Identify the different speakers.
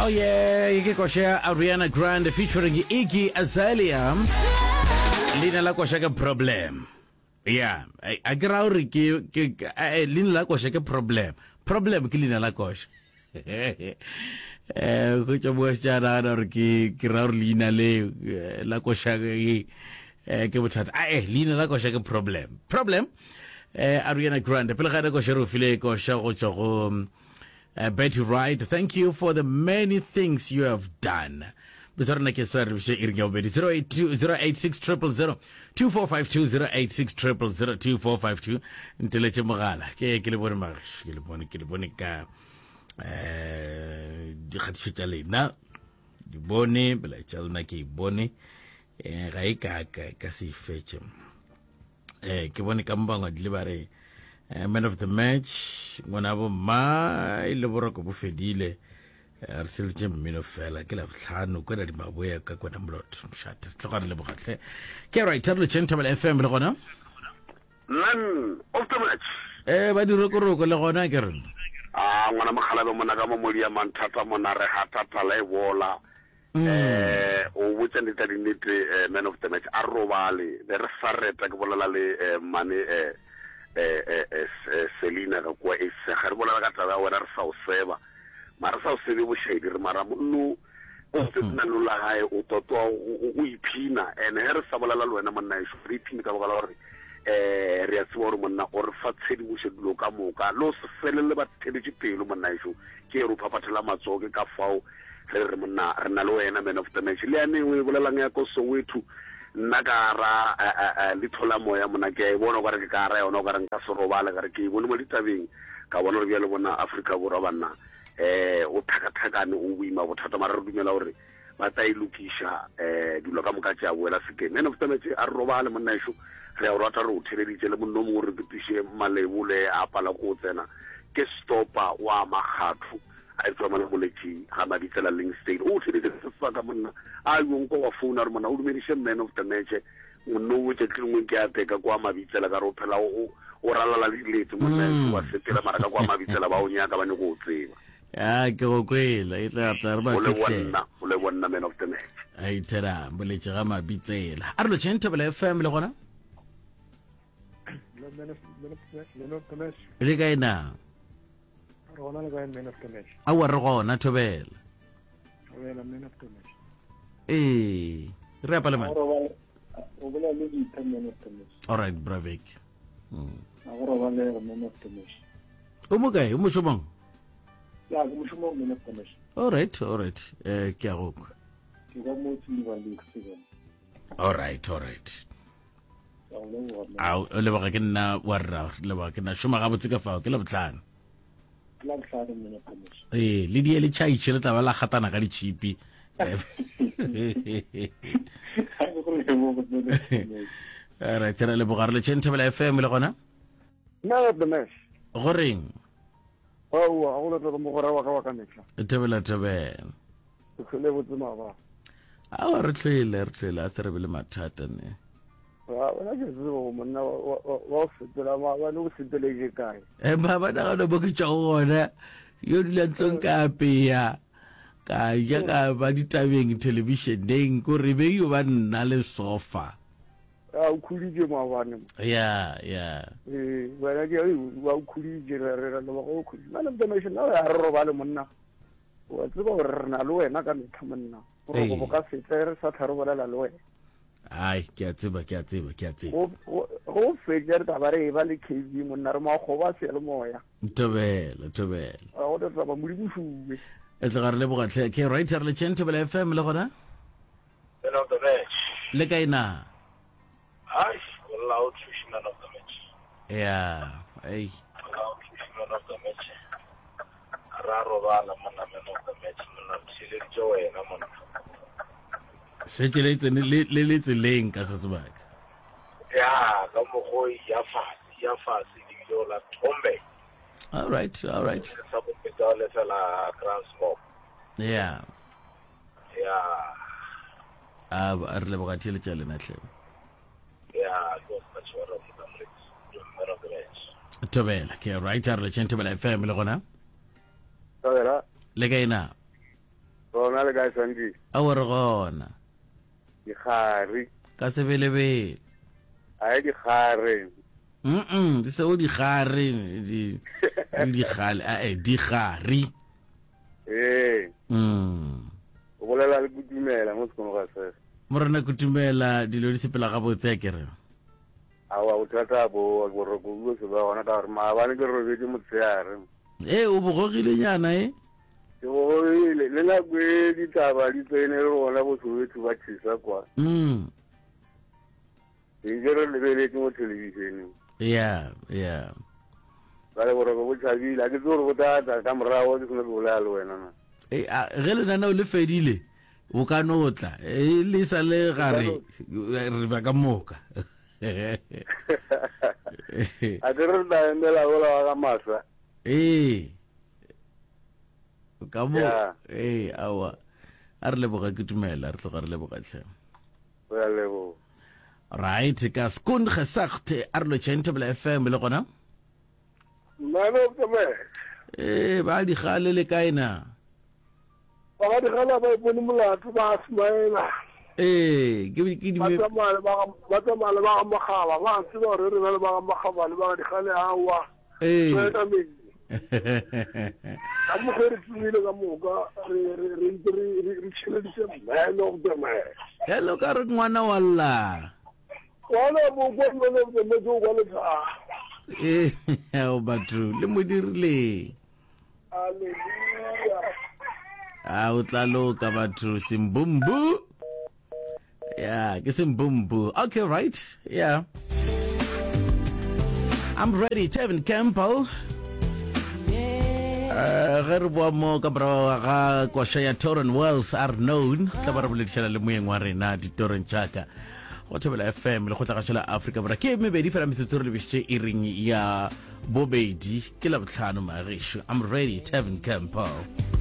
Speaker 1: Oh yeah, ye ke koša ya Ariana Grande featuring Iggy Azalea. Leina la koša ke Problem. Yeah, a ke ra gore ke ke eh, leina la koša ke Problem. Problem ke leina la koša. Eh, go tšwa mo tša nagana gore ke ke ra gore leina le eh, la koša ke eh, ke bothata. Ah, eh, leina la koša ke Problem. Problem. Eh, Ariana Grande pele ga nako še re o file koša go tšwa go Uh, Betty Wright, thank you for the many things you have done. Bitsa rena ke sa re bše iring ya bobedi 082 086 000 2452 086 000 2452 nteletše mogala ke ke le bone magiš ke le bone ke le bone ka eh dikgatišo tša lena di bone melaetša lena ke e bone eh ga e ka ka ka se e fetše eh ke bone ka mo bangwadile ba re eh, man of the match ngwana bo mma e le boroko bo fedile eh, re seletše mmino fela ke labohlano kwena di maboya ka kwena molotho mošate tloga re lebogatlhe ke right re lotšheng thobela fm le gona
Speaker 2: man of the match
Speaker 1: eh ba dirokoroko le gona ke re
Speaker 2: a ngwana mogalabe mona ka mo modia manthata mona re hatata la e bola Eh, o botša nnete dinnete eh, man of the match a robale be re sa reta ke bolela le eh, mmane eh, eh, eh, eh, eh, Selina ka kua e sega re bolela ka taba ya wena re sa o seba mara re sa o sebe bošaedi re mara monno o tse lenano la gae o totoa o iphina and he re sa bolela le wena monna ešo re iphine ka baka la gore um re a tseba gore monna o re fa tshedimošo dilo ka moka le o se felele ba theletše pelo monna ešo ke re o phaphathela matsogo ke ka fao Re re monna re na le wena man of the match. Le yane o e bolelang ya ko Soweto nna ka ra leitho la moya monna ke a e bona o kare ke ka ra yona o kare nka se robale ka re ke e bone mo ditabeng ka bona gore bjale bona Afrika Borwa banna eh o thakathakane o boima bothata mara re dumela gore ba tla e lokiša eh dilo ka moka tša boela sekeng. Man of the match a re robale monna ešo re a o rata re o theleditše le monna o mongwe re fetiše malebole a pala ko o tsena ke stopa wa makgatho A etšwa mola moletši ga Mabitsela Lingsdale. O theletše se sa ka monna. A yo nko wa founa re monna o dumediše man of the match. Monna o tšatši lengwe ke a teka kwa Mabitsela ka re o phela o o ralala le dilete monna mm. wa sepela mara ka kwa Mabitsela ba o nyaka ba nyako o tseba.
Speaker 1: Ya ke go kwela e tla tla re ba
Speaker 2: fihle. O le bonna, o le bonna man of the match.
Speaker 1: A ithera boletše ga Mabitsela. A re lo tšheng Thobela FM le gona? Le kae na?
Speaker 3: Re gona le kae man of the match?
Speaker 1: Aowa re gona Thobela.
Speaker 3: Thobela man of the match.
Speaker 1: Ee, re apa le mang?
Speaker 3: O bolela le Vita man of the match.
Speaker 1: All right, Bravik.
Speaker 3: Mm. A go robale man of the match.
Speaker 1: O mo kae? O mošomong?
Speaker 3: Ya, ke mošomong man of the match.
Speaker 1: All right, all right. Eh, ke a go kwa.
Speaker 3: Ke ka mo Silver Lake Seven.
Speaker 1: All right, all right. A o leboga ke nna wa rra leboga ke nna šoma gabotse ka fao ke labohlano ee le die le tšhaitšhe le tla ba la gatana ka ditšhipi right re leboga re le tšheng thobela fm le gona go reng thobela thobela awa re tlhoile re tlhoile a se re be le mathata ne
Speaker 3: wena ke tsebe go monna wa go sepela maabane o sepeletše kae
Speaker 1: e maabane gona mo ke tšwago gona yo dula ntlong ka apeya ka ja ka ba ditabeng thelebišeneng ko re be yo ba nna le sofa
Speaker 3: a o khuditše maabane mo
Speaker 1: ya ya
Speaker 3: ee wena ke wa o khuditše re re re leboga o khuditše man of the nation na re robale monna wa tseba gore re na le wena ka metlha monna boroko bo ka setle re sa tlha re bolela le wena
Speaker 1: Ai, ke a tseba, ke a tseba, ke a tseba.
Speaker 3: Go fetša re taba re e ba le KB monna re makgoba a seyalemoya.
Speaker 1: Thobela, thobela.
Speaker 3: Ga go taba modimo šuwe.
Speaker 1: E tloga re leboga tlhe. Ke right re le tšheng Thobela FM le gona?
Speaker 4: Man of the match.
Speaker 1: Le kae na?
Speaker 4: Ai, loud fish man of the match.
Speaker 1: Yeah, ei.
Speaker 4: Loud fish man of the match. Ra robala monna man of the match monna re theeleditše wena monna.
Speaker 1: Šetše le tsene le le le tseleng ka se sebaka.
Speaker 4: Ya ka mokgo ya fase ya fase le bile o la thombe.
Speaker 1: All right, all right.
Speaker 4: Sa go feta le fela Grand Smoke.
Speaker 1: Yeah.
Speaker 4: Yeah.
Speaker 1: A a re leboga theeletša lena hle.
Speaker 4: Yeah, go sa tshwara monna moletsi. Man of the match.
Speaker 1: Thobela, ke right a re le tšheng Thobela FM le gona.
Speaker 3: Thobela.
Speaker 1: Le kae na?
Speaker 5: gona le kae Sandy?
Speaker 1: Aowa re gona.
Speaker 5: Dikgari.
Speaker 1: Ka sebelebele.
Speaker 5: Ae dikgare.
Speaker 1: Mm di seo dikgare di dikgale ae dikgari.
Speaker 5: Ee.
Speaker 1: Mm.
Speaker 5: O bolela le Kutumela mo sekolong ga sese.
Speaker 1: Morena Kutumela dilo di sepela gabotse a kere.
Speaker 5: Aowa bothata bo boroko bo se ba gona ka gore maabane ke robetše motshehare.
Speaker 1: Ee o bogogile nyana e.
Speaker 5: Ke bogogile le nako e ditaba di tsene le gona bo Soweto ba tšhesa kwa.
Speaker 1: Mm.
Speaker 5: Ke ntse re lebeletše mo thelebišeneng.
Speaker 1: Yeah, yeah.
Speaker 5: Bjale boroko bo tšhabile, a ke tsebe gore bo tla tla ka morago ke seno ke bolela le wena na.
Speaker 1: E, a, ge lenaneo le fedile, bo ka no tla. E, le sa le gare, re ba ka moka.
Speaker 5: A ke re tla emela ola wa ga masa.
Speaker 1: Ee. Ka mo, ee, aowa. A re leboga ke tumela, re tloga re leboga tlhe.
Speaker 5: Re a leboga.
Speaker 1: Right, ka skoon gesagt, a re lotšheng Thobela FM le gona.
Speaker 6: Man of the match.
Speaker 1: Ee, ba digale le kae na?
Speaker 6: Ba ga digale ba ipone molato ba smaela.
Speaker 1: Ee, ke ke di
Speaker 6: ba tsamaya le ba ba tsamaya le ba ga Makgaba, ba tseba gore re na le ba ga Makgaba le ba ga digale awa.
Speaker 1: Ee.
Speaker 6: Ka mokgwa re tsomile ka moka re re re ntse re re tšhireleditse man of the match.
Speaker 1: Hello ka re ngwana wa lla.
Speaker 6: Ngwana bo kwa man of the match o kwa letsha.
Speaker 1: Ee, o batho le mo dirileng.
Speaker 6: Hallelujah.
Speaker 1: A o tla loka batho simbumbu. Yeah, ke sembumbu. Okay, right. Yeah. I'm ready, Tevin Campbell. Uh, ge re boa mo ka morago ga koša ya Toron Wells are known tla ba re boledišana le moyeng wa rena ditorong tšaka go thobela fm le kgotlagašo la afrika borwa ke mebedi fela metsotso re lebišitše iring ya bobedi ke labohlano magešo i'm ready tevin campbell.